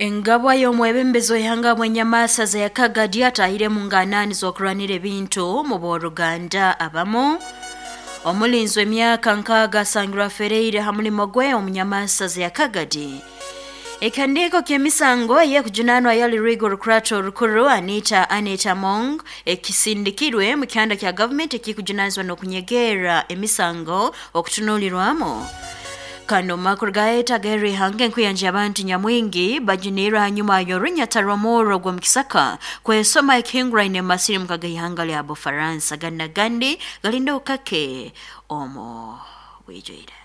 Engabwa y'omwebembezi w'ihanga bw'enyamasaza ya Kagadi atahire mu nganani z'okurwanira ebintu mu b'oruganda abamu. Omulinzi w'emyaka 60 asangirwe afereire ha mulimo gwe omu nyamasaza ya Kagadi. Ekihandiiko ky'emisango ey'ekujunanwa yali Rwigo Rukurato Orukuru Anita Anita Among ekisindikirwe mu kihanda kya gavumenti ekikujunanizibwa n'okunyegerra emisango okutunuulirwamu. Kandi omu makuru ga ag'erihanga, enkuyanja y'abantu nyamwingi bajuniirwe hanyuma y'orunyata rw'omurro gw'omu kisaka kwesoma ekihinguraine mu masirimuka g'ihanga lya Bufaransa. Gandi na gandi galinda okukake omu bwijwire.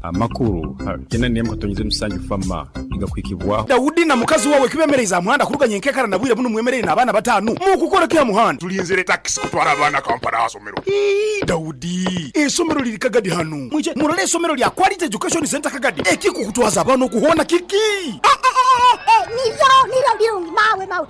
Amakuru ha 97 Fama nigakuhikibwaho. Daudi na mukazi wawe kibemereize aha muhanda kuruga nyenkekara na bwire bunu mwemereire n'abaana batanu. Mukukora ki aha muhanda? Tulinzire takisi kutwara abaana Kampala aha somero. Ii, Daudi, eisomero liri Kagadi hanu. Mwije murole eisomero lya Quality Education Centre Kagadi. Ekikukutwaza abaana okuhoona kiki? Niryo, niryo birungi, mawe, mawe.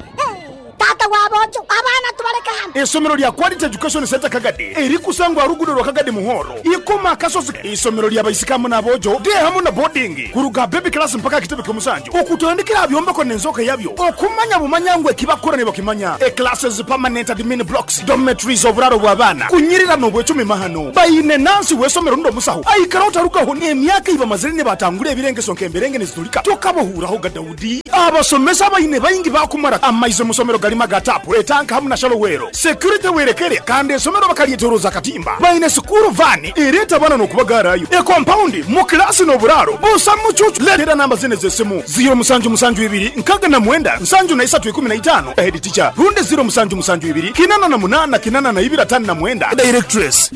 Taata w'aboojo, abaana tubaleke hanu. Eisomero lya Quality Education Centre Kagadi erikusangwa aha ruguudo rwa Kagadi Muhoro, Ikoma Akasozi. Eisomero lya baisiki hamu n'aboojo, day hamu na boarding, kuruga aha baby class mpaka aha kitebe ky'omusanju, okutandikira aha byombeko n'enzooka yabyo, okumanya bumanya ngu ekibakukora nibakimanya. E Classes, permanent admin blocks, dormitories, oburaaro bw'abaana, kunyirira n'obwecumi mahano. Baine nansi w'eisomero rundi omusaho aikara otarugaho n'emyaka ei bamazire nibatangura ebirengeso nk'emberenge nizitulika tokabahuurahoga. Daudi. Abasomesa abaine baingi baakumara amaizi omu somero garimu aga taapu, etanka hamu na shallow well. Security werekere kandi esomero bakalyetoroza akatimba. Baine sikuuru vaani ereeta abaana n'okubagaarayo. Ekompaundi, mu kilaasi n'oburaaro busa mucuucu. Leetera namba zinu ez'esimu, ziiro musanju musanju ibiri nkaga na mwenda nsanju na isatu ikumi na itaano, Head teacher, rundi ziiro musanju musanju ibiri kinana na munaana kinana na ibiri atano na mwenda, Directress.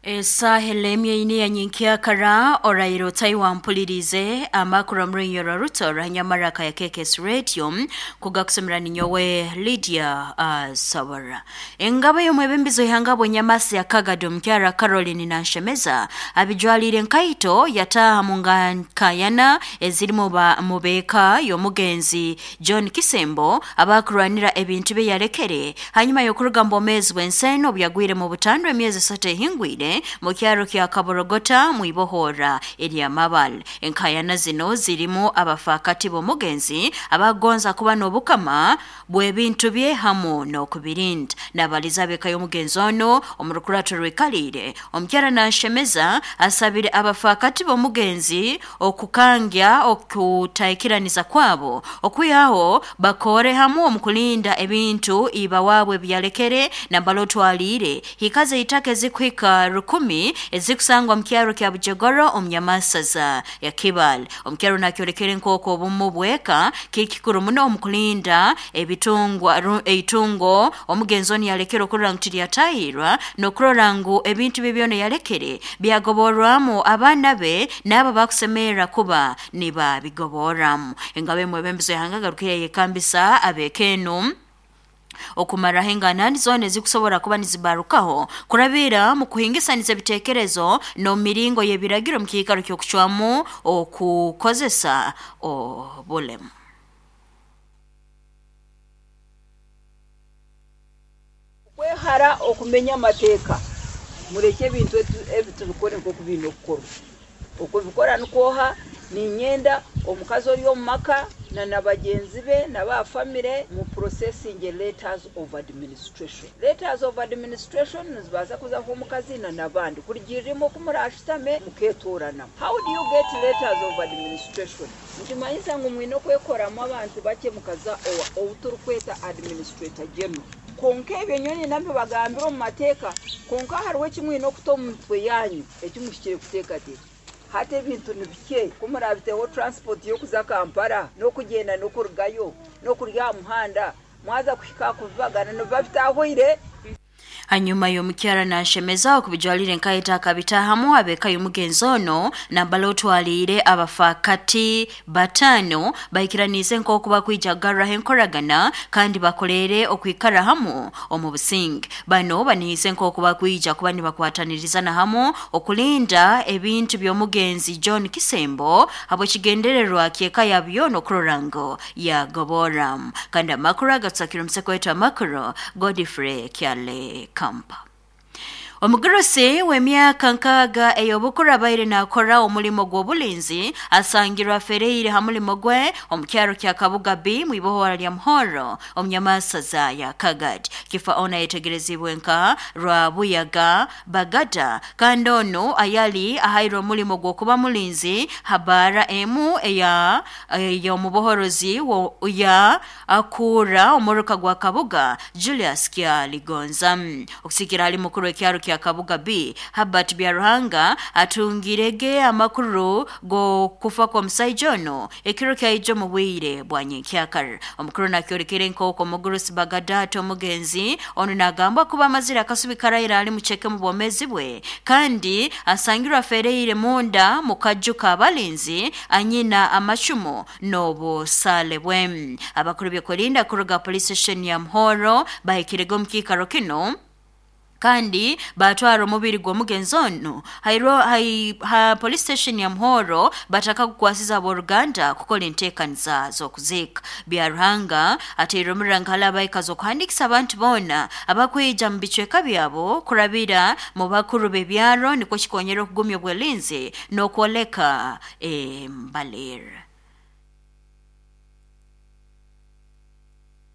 Esaaha elemye ini ya nyenkyakara oraire otayi wampulirize amakuru omurunyoro ruto rwanyamaraka ya KKS Radio kugakusomera ninyowe Lydia Sabara. Engabo y'omwebembizi w'ihanga bw'enyamasi ya Kagadi omukyara Caroline Nanshemeza abijwalire nkaito yataaha mu nkayana ezirimu mu beeka y'omugenzi John Kisembo abakurwanira ebintu bye yalekere hanyuma y'okuruga mu bwomeezi bw'ensi eno obu yagwire mu butandwa emyezi 3 ehingwire mu kyaro kya Kaborogota mu ibohora erya Mabal. Enkayana zino zirimu abafaakati b'omugenzi abagonza kuba n'obukama bw'ebintu bye hamu n'okubirinda. Nabaliza ab'eka y'omugenzi ono omu rukurato rwikaliire. Omukyara Nanshemeza asabire abafaakati b'omugenzi okukangya okutaikiraniza kwabo okwihaho bakore hamu omu kulinda ebintu iba waabwe ebi yalekere nambala otwaliire hikaze eitaka ezikuhika 1000 ezikusangwa mu kyaro kya Bujogoro omu nyamasaza ya Kibale. Omukyaro nakyolekere nk'oku obumu bweka kiri kikuru muno omu kulinda ebitungwa eitungo omugenzi onu yalekere okurora ngu tiryatahirwa n'okurora ngu ebintu bye byona yalekere byagoborwamu abaana be n'abo bakusemerera kuba nibabigoborramu. Engabo emwebembizi w'ihanga agarukire yayekambisa ab'eka enu okumaraho enganani zoona ezikusobora kuba nizibarukaho kurabira mu kuhingisaniza ebiteekerezo n'omu miringo y'ebiragiro mu kiikaro ky'okucwamu okukozesa obulemu. Kwehara okumenya amateeka, mureke ebintu ebi tubikore nk'oku biine okukorwa. Okubikora nikwoha, niinyenda omukazi ori omu maka na bagyenzi be na ba famire mu processinge letters of administration. Letters of administration nizibaasa kuza nk'omukazi na n'abandi kurugiirira imwe oku muraashutame mukeetooranamu. How do you get letters of administration? Nikimanyisa ngu mwine okwekoramu abantu bakye mukaza owa ou turikweta administrator general. Kwonka ebyo nyowe niinyenda mbibagambire omu mateeka, kwonka hariho eki mwine okuta omu mitwe yaanyu eki muhikire kuteekateeka. Hati ebintu ni bikye, ku muraabiteho transport y'okuza Kampala n'okugyenda n'okurugayo n'okurya aha muhanda, mwaza kuhika aha kubibagana nibiba bitahwaire. Hanyuma y'omukyara Nanshemeza okubijwalire nkaita akabitahamu ab'eka y'omugenzi ono nambala otwaliire abafaakati batano baikiraniize nk'oku bakwija kugarraho enkoragana kandi bakoleere okwikara hamu omu businge. Bano banihize nk'oku bakwija kuba nibakwatanirizana hamu okulinda ebintu by'omugenzi John Kisembo habw'ekigendererwa ky'eka yabyo n'okurora ngu yagoborramu. Kandi amakuru agatusakire omuseko waitu amakuru Godfrey Kyale Kampa. Omugurusi w'emyaka 6 ey'obukuru abaire nakora omulimo gw'obulinzi asangirwa afereire ha mulimo gwe omu kyaro kya Kabuga B mu ibohora lya Muhoro omunyamasaza ya Kagadi. Kifa ona yetegerezibwe nka Rwabuyaga Bagada kandi ono ayali ahairwe omulimo gw'okuba mulinzi habara emu eya y'omubohorozi ya akura omuruka gwa Kabuga Julius Kyaligonza. Okusikira ali mukuru w'ekyaro kya Kabuga B Habert Byaruhanga atungirege amakuru go kufa kwa musaija ono ekiro kyaijo mu bwire bwa nyenkyakara. Omukuru nakyorekere nk'oku omugurusi Bagada omugenzi ono nagamba kuba amazire akasubi karaira ali mucheke mu bwomezi bwe kandi asangirwa afereire munda mu kaju k'abalinzi anyina amacumu n'obusale bwe. Abakuru by'okulinda kuruga police station ya Muhoro bahikirege omu kiikaro kino kandi batwara omubiri gw'omugenzi ono ha police station ya Muhoro bataka kukwasiza abooluganda kukola enteekaniza z'okuziika. Byaruhanga ateire omurangala abaikazi okuhandikisa abantu boona abakwija mu bicweka byabo kurabira mu bakuru b'ebyaro nikwo kikonyera okugumya obwelinzi n'okwoleka embalira.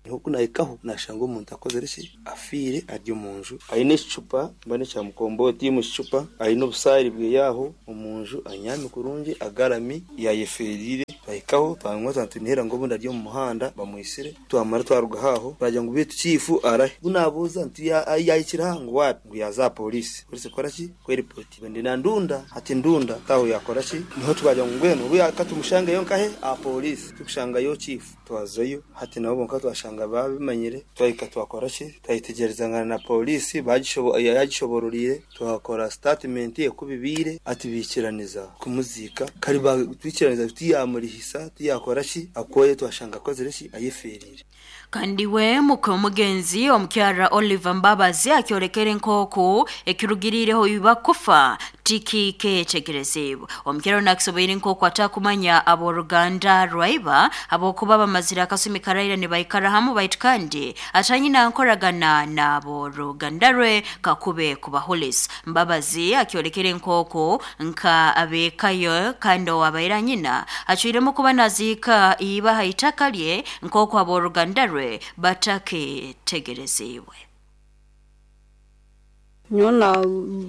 Hoku nahikaho nashanga omuntu akozere ki afiire ari omunju aine ekicupa mbane kya mukomboti mu kicupa aine obusaari bweyaho omunju anyami kurungi agarami yayeferire. Twahikaho twamwa twantunihira ngo obundi ari omu muhanda bamwisire twamara twaruga haho twagira ngu bitu chifu arahe bunabuuza nti yayikira ngu wapi ngu yaza polisi polisi kora ki kweripoti ndi na ndunda ati ndunda taho yakora ki niho twagira ngu ngweno ubu yakatumushangayo nkahe a polisi tukushangayo chifu twazayo hati nabo bonka twashanga babimanyire twahika twakora ki twayitegerezangana na polisi yagishobororire twakora statement ekubibire ati bikiraniza kumuzika kari batwikiraniza tuyamurihisa tuyakora ki akoye twashanga akozere ki ayeferire. Kandi we muke omugenzi omukyara Oliver Mbabazi akyorekere nk'oku ekirugirireho ibakufa tikiketegerezibwa. Omukyara nakisoboire nk'oku atakumanya abooluganda rwaiba abokuba bamazire akasumi karaira nibaikara hamu baitu kandi atanyina nkoragana n'abooluganda rwe kakube kubahulisa. Mbabazi akyorekere nk'oku nka abekayo kandi owabaira nyina acwiremu kuba naziika iba ha itaka lye nk'oku abooluganda rwe bataketegerezibwe. Nyowe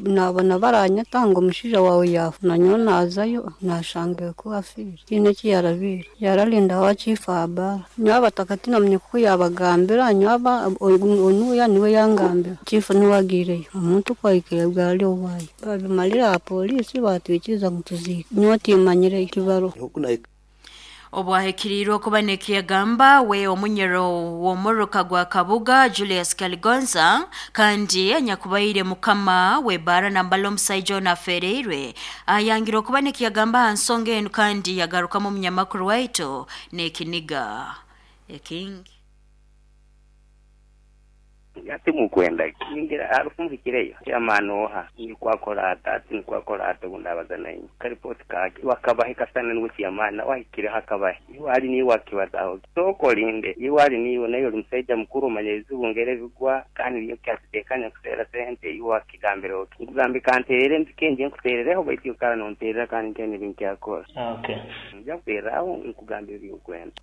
nabona baranyeta ngo omushaija wawe yafa na nyowe nazayo nashanga ko afiire tihaine eki yarabiire yararinda wakiifa aha baara. Nyowe abataka tinamanya kuku yabagambira nyowe onuya niwe yangambira chifu niwe agiireyo omuntu kwahikire bwari owaayo babimarire aha polisi batwikiriza ngu tuziike nyowe timanyireyo tibaroho. Obwahikiriirwe okuba nekiyagamba we omunyero w'omuruka gwa Kabuga Julius Kaligonza kandi anyakubaire mukama w'ebara nambala omusaija ono afereirwe ayangire okuba nekiyagamba aha nsonga enu kandi yagarukamu omunyamakuru waitu n'ekiniga ekingi. Ati mukwenda kingira arufu muhikireyo chairman oha nikwakora ati nikwakora ati bundabaza nayi karipoti kake wakabahe kasana niwe chairman wahikire hakabahe iwali ni wakibazaho soko linde iwali niwe nayo musaija mukuru manyezi bungere bigwa kandi niyo kyatekanya kusera sente iwakigambira oki nkugambe kanterere nzikenje nkuterereho baitu yokara nonterera kandi nkene binkyakora. Okay, nja kutereraho nkugambira by'okwenda.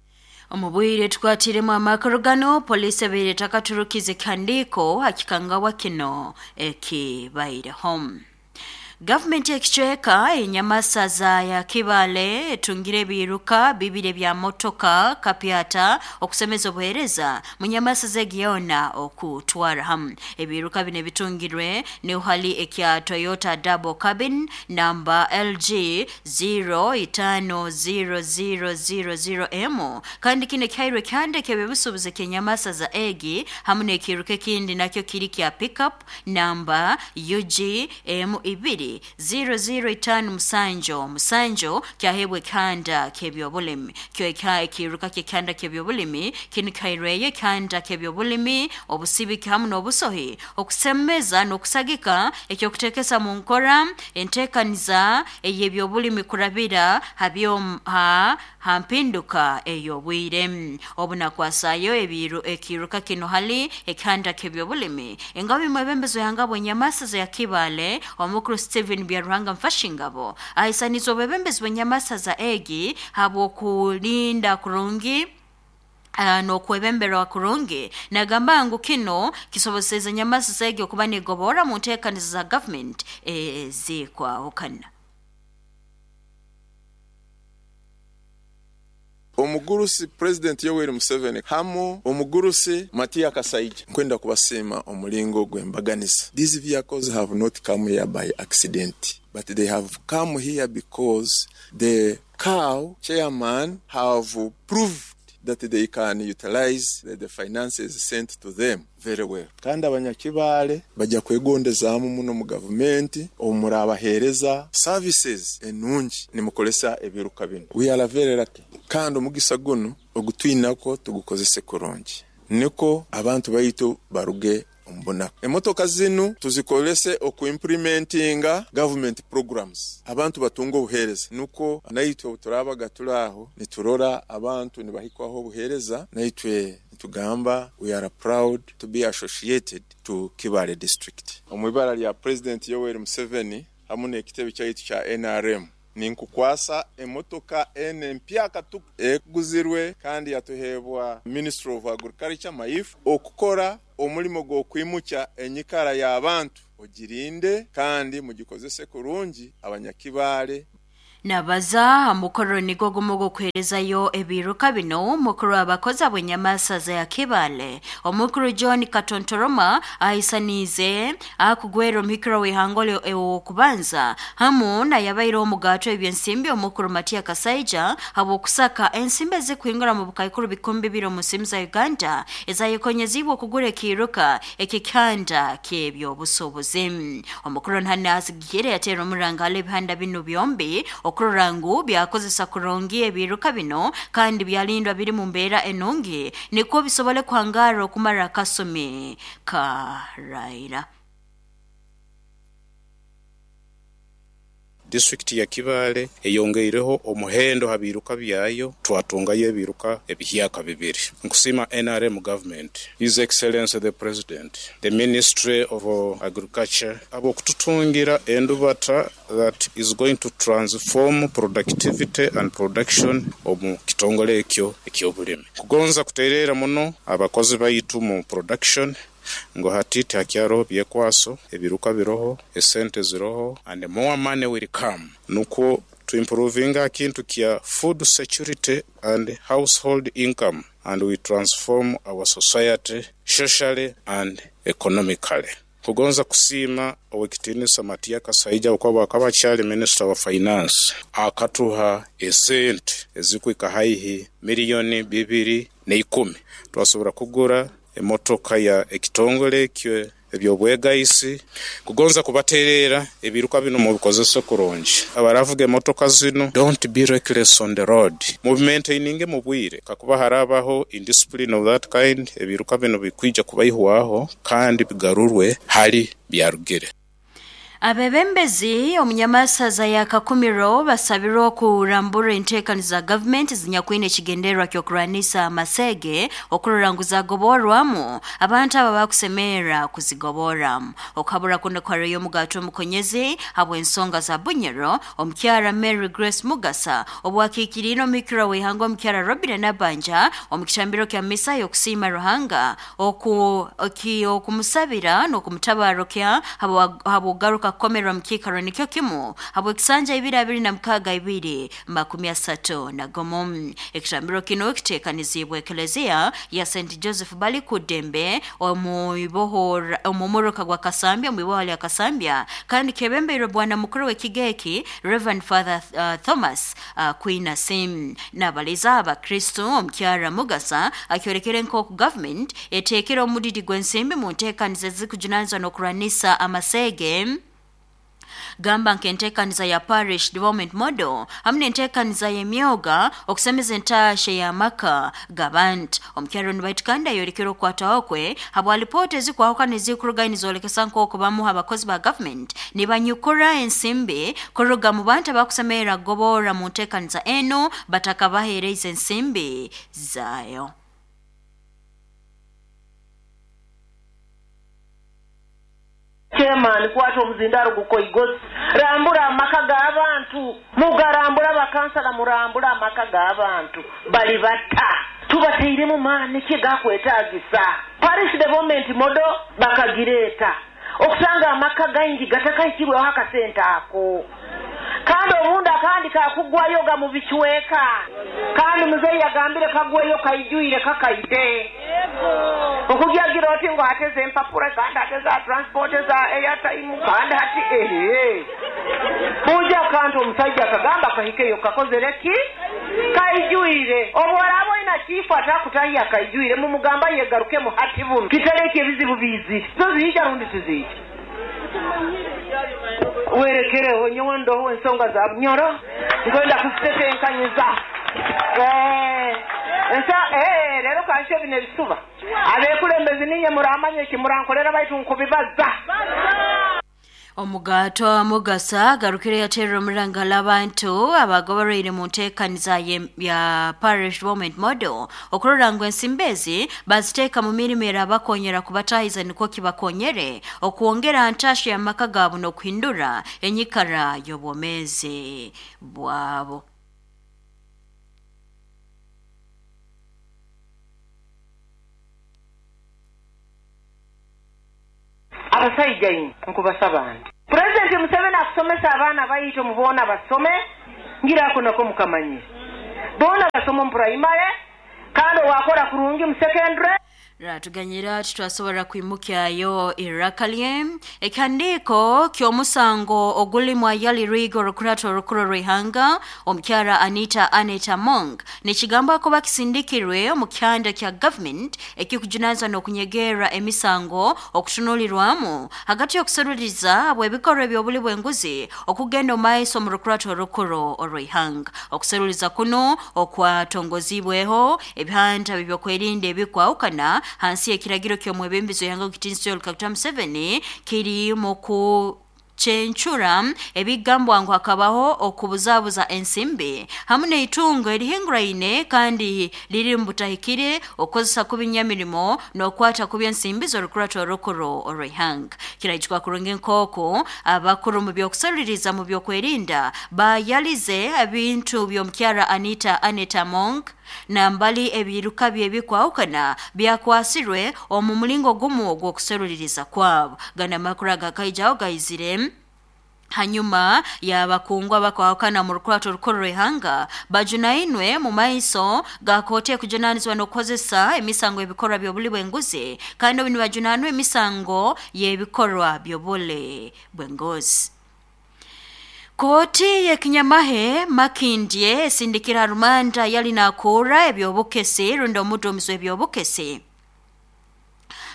Omubwire tukwatiremu amakuru gano polisi ebaire takaturukize kihandiiko hakikangawa kino ekibaireho. Gavumenti ekicweka enyamasaza ya Kibale etungire ebiruka bibiri bya motoka kapyata okusemeza obuheereza mu nyamasaza egiyona okutwara hamu. Ebiruka bino ebitungirwe ni hali ekya Toyota double cabin namba LG 050000M kandi kino kihairwe kihandike ebibusuubuzi ky'enyamasaza egi hamu n'ekiruka ekindi nakyo kiri kya pickup namba UG M2 2 00 5 7 kyahebwa ekihanda ky'ebyobulimi. Kyo ekiruka ky'ekihanda ky'ebyobulimi kinu kihaireyo ekihanda ky'ebyobulimi, obusibiki hamu n'obusohi okusemeza n'okusagika ekyokuteekesa mu nkora enteekaniza ey'ebyobulimi kurabira ha mpinduka ey'obwire. Obunakwasaayo ekiruka kinu hali ekihanda ky'ebyobulimi, engabi mwebembezi w'ihanga bw'enyamasaza ya Kibaale omukuru Stephen Byaruhanga Mfashingabo ahisaniza obwebembezi bw'enyamasaza egi habw'okulinda kurungi n'okwebemberwa kurungi. Nagamba ngu kino kisoboseza enyamasaza egi okuba negobora mu nteekaniza za gavumenti ezikwahukana. Omugurusi President Yoweri Museveni hamu omugurusi Matia Kasaija, nkwenda kubasiima omulingo gw'embaganiza. These vehicles have not come here by accident, but they have come here because the cow chairman have proved that they can utilize the finances sent to them very well. Kandi abanyakibaale bajja kwegondezaamu muno mu gavumenti omurabaheereza services enungi nimukolesa ebiruka bino. We are very lucky. Kandi omugisa guno ogutwinako tugukozese kurungi, niko abantu baitu baruge omubunaku. Emotoka zinu tuzikolese okuimplementinga government programs, abantu batunga obuheereza, nuko naitwe obuturabaga turi aho niturora abantu nibahikwaho obuheereza, naitwe nitugamba we are proud to be associated to Kibaale district. Omu ibara lya President Yoweri Museveni hamu n'ekitebe kyaitu kya NRM, ninkukwasa emotoka ene empyaka ekuguzirwe kandi yatuheebwa Ministry of Agriculture MAIF okukora omulimo gw'okwimukya enyikara y'abantu, ogirinde kandi mugikozese kurungi abanyakibaale. Nabaza mukoro nigo gumu gw'okuheerezayo ebiruka bino mukuru abakozi ab'enyamasaza ya Kibaale omukuru John Katontoroma ahisaniize akugwera omuhikiro w'ihanga ow'okubanza hamu nayabaire omugato ebyensimbi omukuru Matia Kasaija habw'okusaka ensimbi ezikuhingura mu bukaikuru 2000 omu nsimbi za Uganda ezayekonyezibwe okugura ekiruka ekikihanda ky'ebyobusuubuzi. Omukuru Nhana asigikire yateera omuranga hali ebihanda bino byombi okurora ngu byakozesa kurungi ebiruka bino kandi byalindwa biri mu mbeera enungi nikwo bisobole kuhangara okumara akasumi karaira. Disitulikiti ya Kibaale eyongeireho omuhendo ha biruka byayo, twatungayo ebiruka ebihyaka 2. Nkusiima NRM government, His Excellency the President, the Ministry of Agriculture ab'okututungira endubata that is going to transform productivity and production omu kitongole ekyo eky'obulimi. Kugonza kuteerera muno abakozi baitu mu production ngo hati tihakyaroho byekwaso, ebiruka biroho, esente ziroho, and more money will come. Nukwo tuimprovinga kintu kya food security and household income, and we transform our society socially and economically. Kugonza kusiima ow'ekitiinisa Matia Kasaija okuba akaba akyali Minister wa Finance akatuha esente ezikuhika haihi miliyoni 210 twasobora kugura emotoka ya ekitongole ekyo ebyobwegaisi. Kugonza kubateerera ebiruka bino mubikozese kurungi. Abaravuga emotoka zino, don't be reckless on the road, mubimaintaininge mu bwire. Kakuba harabaho indiscipline of that kind, ebiruka bino bikwija kubaihwaho kandi bigarurwe hali byarugire. Abebembezi omunyamasaza ya Kakumiro basabirwe okurambura enteekaniza za gavumenti zinyakwine ekigendererwa ky'okurwanisa amasege okurora ngu zagoborwamu abantu aba bakusemerra kuzigoboramu. Okuhabura kuno kwariyo omugato omukonyezi habw'ensonga za Bunyoro omukyara Mary Grace Mugasa obwakiikiriire omuhikirwa w'ihanga omukyara Robina Nabanja omu kitambiro kya misa y'okusiima Ruhanga okumusabira n'okumutabarukya habw'okugaruka kukomerwa mu kiikaro nikyo kimu habw'ekisanja 2026 231. Ekitambiro kino kiteekaniziibwe Eklezia ya St Joseph Balikudembe omumuruka gwa Kasambya omu iboho lya Kasambya kandi kyebembeirwe bwana mukuru w'ekigeki Reverend Father Thomas Kwinasi. Nabaliza abakristo omukyara Mugasa akyorekere nk'oku government eteekere omudidi gw'ensimbi mu nteekaniza ezikujunanizibwa n'okurwanisa amasege. Gamba nk'enteekaniza ya Parish Development Model hamwe n'enteekaniza y'emyoga okusemeza entaasha y'amaka g'abantu. Omukyaro nibaitu kandi ayorekere okukwataho kwe habwa lipoota ezikwahukana ezikuruga nizoolekesa nk'oku bamu abakozi ba gavumenti nibanyukura ensimbi kuruga mu bantu abakusemerera kugoborra mu nteekaniza enu batakabaheereize ensimbi zaayo. Chairman kwata omuzindaro gukoigozi rambura amaka g'abantu mugarambura abakansala murambura amaka g'abantu bali bata tubateiremu maani ki gakwetagisa parish development model bakagireeta okusanga amaka gaingi gatakahikirweho akasente ako kandi obundi akandi kakugwayo ga mu bicweka kandi muzeeyi yagambire kagweyo kaijwire kakaide okugyagira oti ngu ate zempapura kandi ate za transport za airtime kandi hati ehe buja akantu omusajja akagamba kahikeyo kakozere ki kaijwire obworaba oina chifu atakutahya kaijwire mumugamba yegarukemu hati buno kitareki ebizibu bizire zo ziija rundi tiziija werekereho nyowe ndoho ensonga za bunyoro nkwenda kuzitetenkanyiza rero kanshe bino ebisuba abekulembezi ninye muramanye kimurankolera baitu nkubibaza. Omugato Mugasa garukire yaterera omurangala abantu abagobereire mu nteekaniza ya Parish Development Model okurora ngu ensimbi ezi baziteeka mu mirimo erabakonyera kubatahiza nikwo kibakonyere okwongera ntasha y'amaka gaabo n'okuhindura enyikara y'obwomeezi bwabo. Abasaija inywe nkubasaba nti Pulezidenti Museveni akusomesa abaana baitu muboona basome ngira ako nako mukamanyire boona basome omu primary kandi owakora kurungi mu secondary. Ratuganyira titwasobora kwimukyayo iraka lye ekihandiiko ky'omusango ogulimu ayali Rigo Rukurato Rukuru rw'ihanga omukyara Anita Anita Among nikigamba kuba kisindikirwe omu kyanda kya government ekikujunanizibwa n'okunyegerra emisango okutunulirwamu hagati y'okuseruriza bw'ebikorwa eby'obuli bw'enguzi okugenda omu maiso omu Rukurato Rukuru orw'ihanga. Okuseruriza kuno okwatongozibweho ebihanda by'okwerinda ebikwahukana hansi y'ekiragiro ky'omwebembezi w'ihanga Kitinsi Yoweri Kaguta Museveni kiri mu kucencura ebigambwa ngu hakabaho okubuzabuza ensimbi hamwe n'eitungo erihinguraine kandi riri mu butahikire okukozesa kubi nyamirimo n'okwata kubi ensimbi z'orukurato orukuru orw'ihanga. Kirahikwa kurungi nk'oku abakuru mu by'okuseruririza mu by'okwerinda bayalize ebintu by'omukyara Anita Anita Among nambali ebiruka bye bikwahukana byakwasirwe omu mulingo gumu ogw'okuseruririza kwabo. Gana amakuru agakaijaho gaizire hanyuma y'abakungwa bakwahukana mu rukurato rukuru rw'ihanga bajunainwe mu maiso ga kooti ekujunanizibwa n'okukozesa emisango y'ebikorwa by'obuli bw'enguzi kandi obu nibajunanwa emisango y'ebikorwa by'obuli bw'enguzi. Kooti y'ekinyamahe Makindye esindikira rumanda yali nakuura eby'obukesi rundi omuduumizi w'eby'obukesi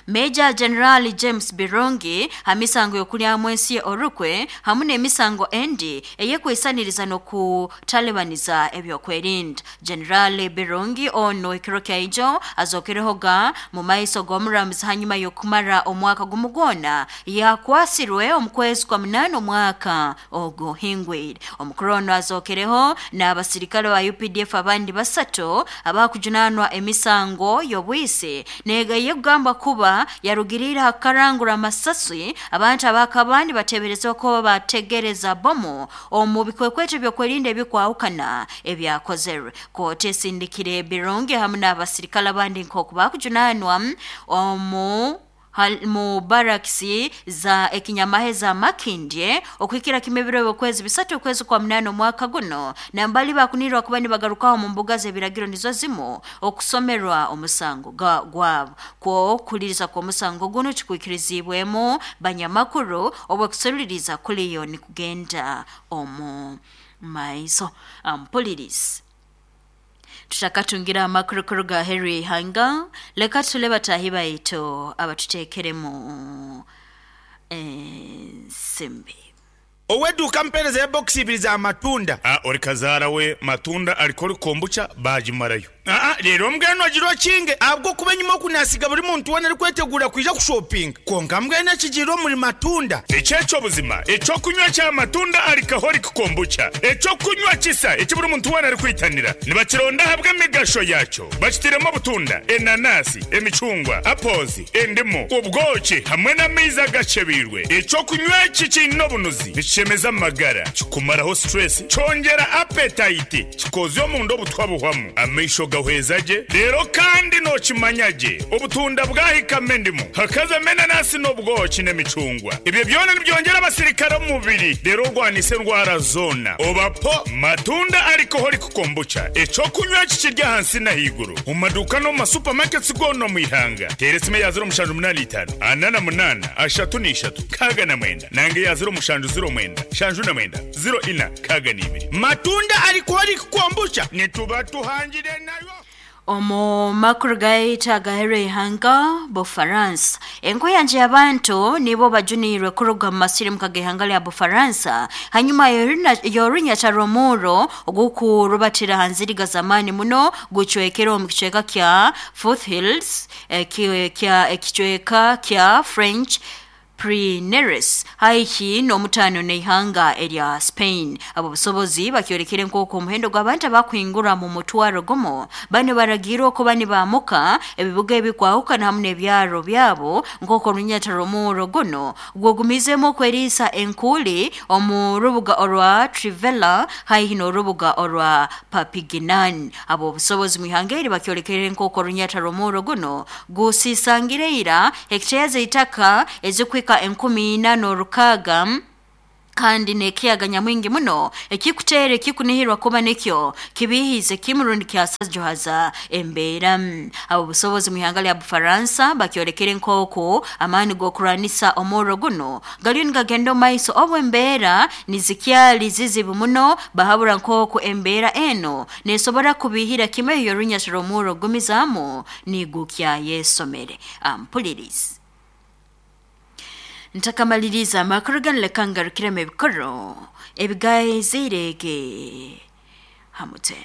Major General James Birungi hamisango y'okulyamu ensi orukwe hamwe n'emisango endi eyekwesaniriza n'okutalibaniza ebyokwerinda. General Birungi ono ekiro kyaijo azokerehoga mu maiso g'omuramuzi hanyuma y'okumara omwaka gumu gwona yakwasirwe omu kwezi kwa 8 omwaka oguhingwire. Omukuru ono azokereho n'abasirikale ba UPDF abandi basatu abakujunanwa emisango y'obwisi nega yekugamba kuba yarugirira hakarangura amasasi abantu abakabandi bateberezwa ko bategereza bomu omu bikwekweto by'okwerinda ebikwahukana ebyakozerwe. Kooti esindikire Birungi hamwe n'abasirikale abandi nk'oku bakujunanwa omu mu barakisi za ekinyamahe za Makindye okuhikira kimwe ebiro by'okwezi 3 okwezi kwa 8 omwaka guno nambali bakunirwa kuba nibagarukaho mu mbuga z'ebiragiro nizo zimu okusomerwa omusango gwabo. Kwo kuliriza kw'omusango guno kikwikirizibwemu banyamakuru obw'okuseruliriza kuliyo nikugenda omu maiso. Ampulirizi tutakatungira amakuru ga Henry Hanga leka tule batahi baitu abatutekeremu ensimbi. Ow'eduuka mpeerezeyo bokisi ibiri za matunda. A Ori kazaara we matunda alikori kombucha baagimarayo. Aa Reero mbwenu ogira okinge ahabw'okuba enyima oku naasiga buri muntu weena arikwetegura kwija kushopinga. Kwonka mbwenu ekigiire omuri matunda. Eki eky'obuzima eky'okunywa kya matunda alcoholic kombucha, eky'okunywa kisa eki buri muntu weena arikwitanira. Nibakironda ahabw'emigasho yaakyo. Bakitairemu obutunda, enanasi, emicungwa, apples, endimu, obwoki hamwe n'amaizi agakyebeirwe. Eky'okunywa eki kiine obunuzi, nikishemeza amagara, kikumaraho stress, kyongyera appetite, kikozya omunda obutwa buhwamu, amaisho gahweza gye, reero kandi nookimanya gye obutunda bwahikamu endimu, hakazamu enanasi n'obwoki n'emicungwa. Ebyo byona nibyongyera abasirikare omu mubiri reero orwanise endwara zoona. Oba po Matunda Alcoholic Kombucha, eky'okunywa eki kiri ahansi n'ahaiguru omu maduuka n'omu ma supermarkets goona omu ihanga. Teera esimu eya 0785 48 33 69 nanga eya 0709 79 04 62. Matunda Alcoholic Kombucha nituba tuhangire nayo. Omu makuru gaitu agaheru eihanga Bufaransa. Enkuyanja y'abantu nibo bajuniirwe kuruga mu masirimuka g'ihanga lya Bufaransa hanyuma y'orunyata rw'omurro ogukurubatira ha nziriga z'amaani muno gucwekere omu kicweka kya Foothills ekicweka kya French Pyrenees haihi n'omutaano n'ihanga erya Spain. Abo busobozi bakyolekere nk'oku omuhendo gw'abantu abakuhingura mu mutwaro gumu bano baragiirwe okuba nibaamuka ebibuga ebikwahukana hamu n'ebyaro byabo nk'oku orunyata rw'omurro guno gwogumizeemu okweriisa enkuuli omu rubuga orwa Trivella haihi n'orubuga orwa Perpignan. Abo obusobozi mu ihanga eri bakyolekere nk'oku orunyata rw'omurro guno gusiisangire ira hekiteya z'eitaka ezikuhika 4600 kandi n'ekiyaga nyamwingi muno ekikuteera ekikunihirwa kuba nikyo kibiihize kimu rundi kyasajohaza embeera. Abo busobozi mu ihanga lya Bufaransa bakyolekere nk'oku amaani g'okurwanisa omurro guno gariyo nigagenda omu maiso obu embeera nizikyali zizibu muno bahabura nk'oku embeera eno neesobora kubiihira kimwe eyo orunyata rw'omurro gumizaamu nigukyayesomere. Ampulirizi. Ntakamaliriza amakuru ganu leka ngarukiremu ebikoro ebigaizirege hamute.